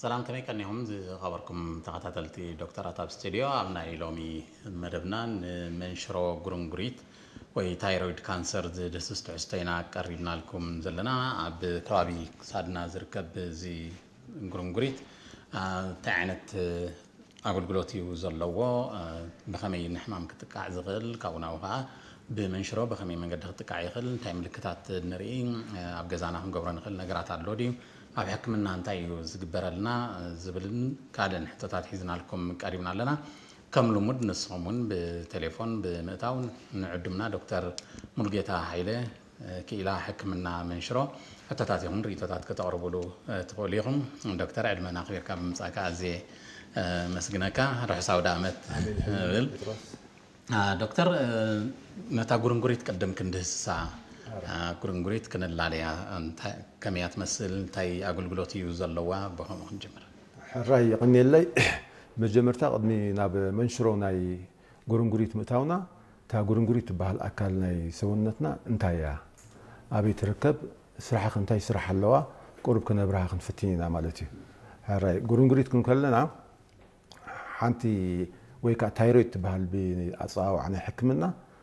ሰላም፣ ከመይ ቀኒኹም ዝኸበርኩም ተኸታተልቲ ዶክተራት ኣብ ስቱድዮ? ኣብ ናይ ሎሚ መደብና ንመንሽሮ ጉርንጉሪት ወይ ታይሮይድ ካንሰር ዝድህስስ ትሕዝቶ ኢና ቀሪብናልኩም ዘለና። ኣብ ከባቢ ክሳድና ዝርከብ እዚ ጉርንጉሪት እንታይ ዓይነት ኣገልግሎት እዩ ዘለዎ፣ ብኸመይ ንሕማም ክጥቃዕ ዝኽእል፣ ካብኡ ናብኡ ከዓ ብመንሽሮ ብኸመይ መንገዲ ክጥቃዕ ይኽእል፣ እንታይ ምልክታት ንርኢ፣ ኣብ ገዛና ክንገብሮ ንኽእል ነገራት ኣሎ ድዩ፣ ኣብ ሕክምና እንታይ እዩ ዝግበረልና ዝብልን ካልእን ሕቶታት ሒዝናልኩም ቀሪብና ኣለና። ከም ልሙድ ንስኹም እውን ብቴሌፎን ብምእታው ንዕዱምና ዶክተር ሙሉጌታ ሃይለ ክኢላ ሕክምና መንሽሮ ሕቶታት ይኹን ርእይቶታት ከተቕርቡሉ ትኽእሉ ኢኹም። ዶክተር፣ ዕድመና ኣኽቢርካ ብምምጻእካ ኣዝየ መስግነካ። ርሑስ ኣውደ ዓመት እብል። ዶክተር፣ ነታ ጉርንጉሪት ቅድም ክንድህስሳ፣ ጉርንጉሪት ክንላለያ ከመይ እያ ትመስል፣ እንታይ ኣገልግሎት እዩ ዘለዋ፣ ብኸምኡ ክንጅምር። ሕራይ የቐንየለይ። መጀመርታ ቅድሚ ናብ መንሽሮ ናይ ጉርንጉሪት ምእታውና፣ እታ ጉርንጉሪት ትበሃል ኣካል ናይ ሰውነትና እንታይ እያ፣ ኣበይ ትርከብ፣ ስራሓ እንታይ ስራሕ ኣለዋ፣ ቁሩብ ክነብርሃ ክንፍትን ኢና ማለት እዩ። ሕራይ ጉርንጉሪት ክንከለና ሓንቲ ወይ ከዓ ታይሮይድ ትበሃል ብኣፀዋውዓ ናይ ሕክምና